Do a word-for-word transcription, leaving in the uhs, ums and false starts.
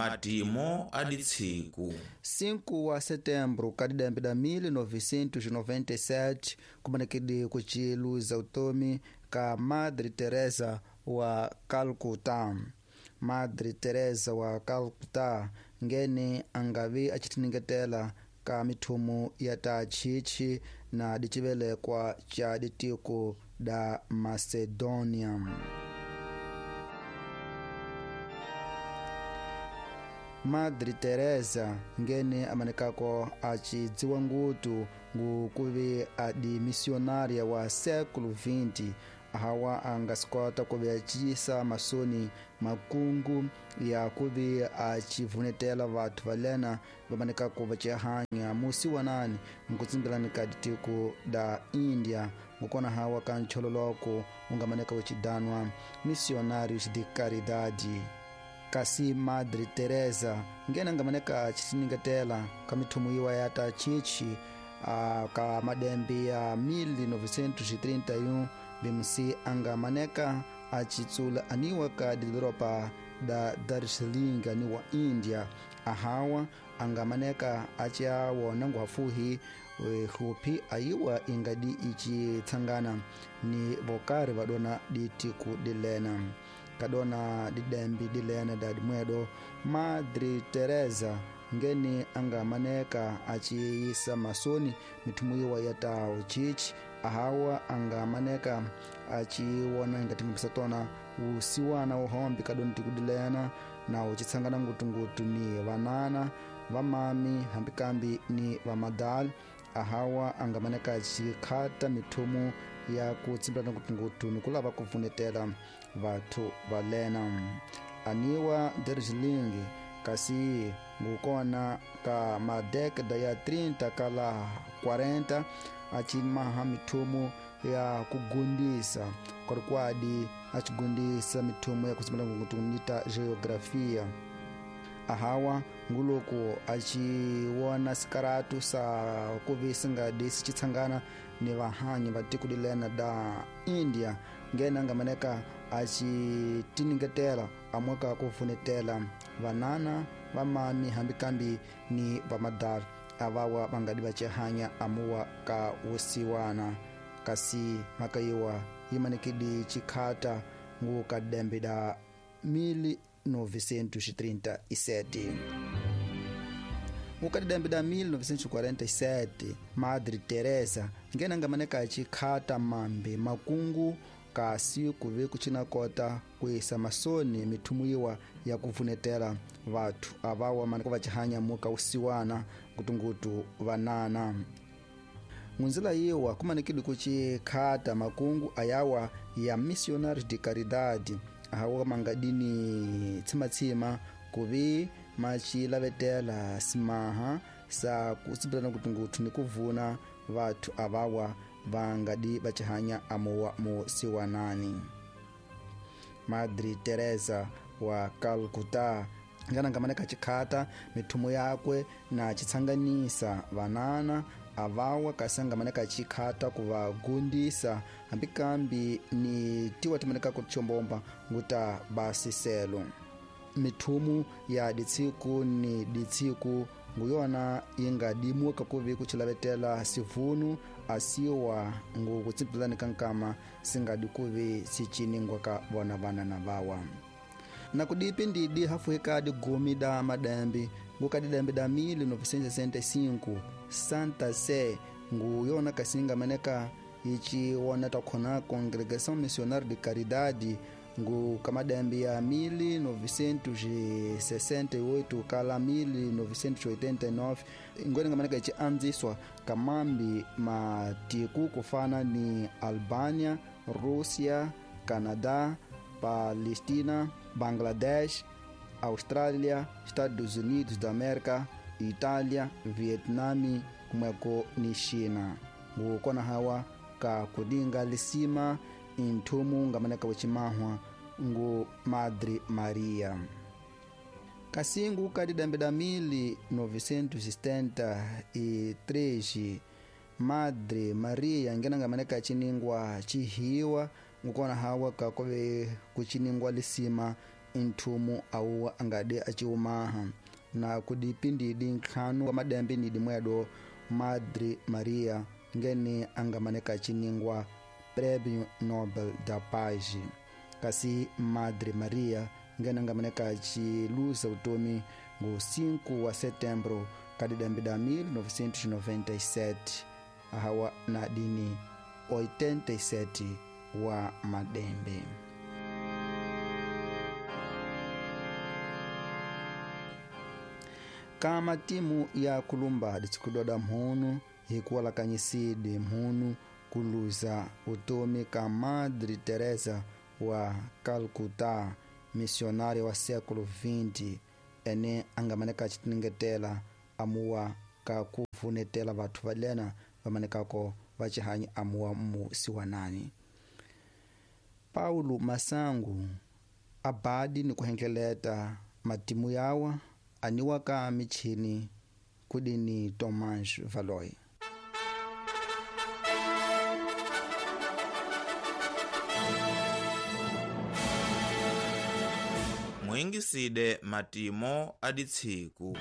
Matimo a ditsiku. cinco wa setembro ka didembe da mil novecentos e noventa e sete kumanekidi kuciluza utomi ka Madre Teresa wa Calcutá. Madre Teresa wa Calcutá ngene angavi acitiningetela ka mithumu ya ta chichi na dicivelekwa ca ditiko da Macedonia. Madre Teresa ngene amanekako acidziwa ngutu ngukuvi adi missionária wa século vinte, hawa angasikota kuvi acisa masoni makungu ya kuvi acivunetela vathu valena vamanekako vacihanya musi wanani nkutsimbelani ka ditiko da Índia, ngukona hawa ka nchololoko ungamaneka ucidanwa Missionários de Caridade. Kasi Madre Teresa ngene ngamaneka acitiningetela ka mithumu iwa ya ta chichi uh, ka madembe ya mil novecentos e trinta e um bimsi angamaneka acitsula aniwa ka didoropa da Darjeeling aniwa India, ahawa angamaneka aciawona nguhafuhi hupi ayiwa ingadi icitsangana ni vokari vadona ditiku dilena kadona didembi dilena dadimwedo. Madre Teresa ngene angamaneka aciyisa masoni mithumu iwa ya tao chichi, ahawa angamaneka aciwona ingatingipisa tona usiwana uhombi kadona tikudilena na ucitsangana ngutungutu ni vanana vamami hambikambi ni vamadali, ahawa angamaneka acikhata mithumu ya kutsimbelana ngutungutu ni kulava kuvunetela vathu valena aniwa Darjeeling. Kasi ngukona ka madekada ya trinta kala quarenta acimaha mithumu ya kugundisa kwalikwadi acigundisa mithumu ya kutsimbelana ngutungutu nita geografia, ahawa nguluku aciwona sikaratu sa kuvi singadi sicitsangana ni vahanyi va tiko dilena da India, ngene angamaneka acitiningetela amweka kufunetela vanana vamami hambikambi ni vamadala avawa vangadi vacihanya amuwa ka usiwana. Kasi mhaka yiwa yimanekidi cikhata ngu ka dembe da mil novecentos e trinta e sete. Mukadidembe da mil novecentos e quarenta e sete, Madre Teresa ngene angamaneka acikhata mambe makungu kasi kuve kucina kota kuisa masoni mithumu iwa ya kuvunetela vathu avawa maneka vacihanya muka usiwana ngutungutu vanana. Ngunzila yiwa kumanekidi kucikhata makungu ayawa ya Missionários de Caridade, ahawa mangadini tsimatsima kuvi macilavetela simaha sa kutsimbelana ngutungutu ni kuvuna vathu avawa vangadi vacihanya amuwa musiwanani. Madre Teresa wa Calcutá ngana ngamaneka cikhata mithumu yakwe na citsanganisa vanana avawa kasi angamaneka cikhata kuvagundisa hambikambi ni tiwa timaneka kuchombomba nguta basiselo. Mithumu ya ditsiku ni ditsiku nguyona ingadimuka kuvi kucilavetela sivunu asiwa ngu kutsimbelani kankama singadi kuvi siciningwa ka vona vanana vawa. Na kudipi ndidi hafuhika digumi da madembi ngukadidembe da mil novecentos e sessenta e cinco Santa Sé nguyona kasinga maneka iciwona takhona Congregação Missionária de Caridade ngu kamadembe ya mil novecentos e sessenta e oito kala mil novecentos e oitenta e nove ngone ngamaneka ici anziswa kamambi matiku kufana ni Albania, Rússia, Canadá, Palestina, Bangladesh, Austrália, Estados Unidos da América, Itália, Vietnã, kumweko ni China. Ngukona hawa ka kudinga lisima inthumu ngamaneka wecimahwa ngu Madre Maria. Kasingu kadidembe da mil novecentos e setenta e três Madre Maria ngena ngamaneka ciningwa cihiwa ngukona hawa kakove kuciningwa lisima nthumu awuwa angadi aciumaha na kudipindidi ntlhanu wa madembe nidi mwedo Madre Maria ngene angamaneka ciningwa Prêmio Nobel da Paz. Kasi Madre Maria ngene angamaneka ciluza utomi ngo cinco wa setembro kadidembe da mil novecentos e noventa e sete ahawa na dini oitenta e sete wa madembe. Kama timu ya kulumba ditikudoda mhunu hikuwalakanyisidi mhunu kuluza utomi ka Madre Teresa wa Calcutá, missionária wa século vinte, ene angamaneka citingetela amuwa ka kuvunetela vathu valena vamanekako vacihanyi amuwa mu siwanani. Paulo Masangu abadi ni kuhengeleta matimu yawa aniwa ka michini kudini Tomás Valoy. Mwingiside matimo aditsiku.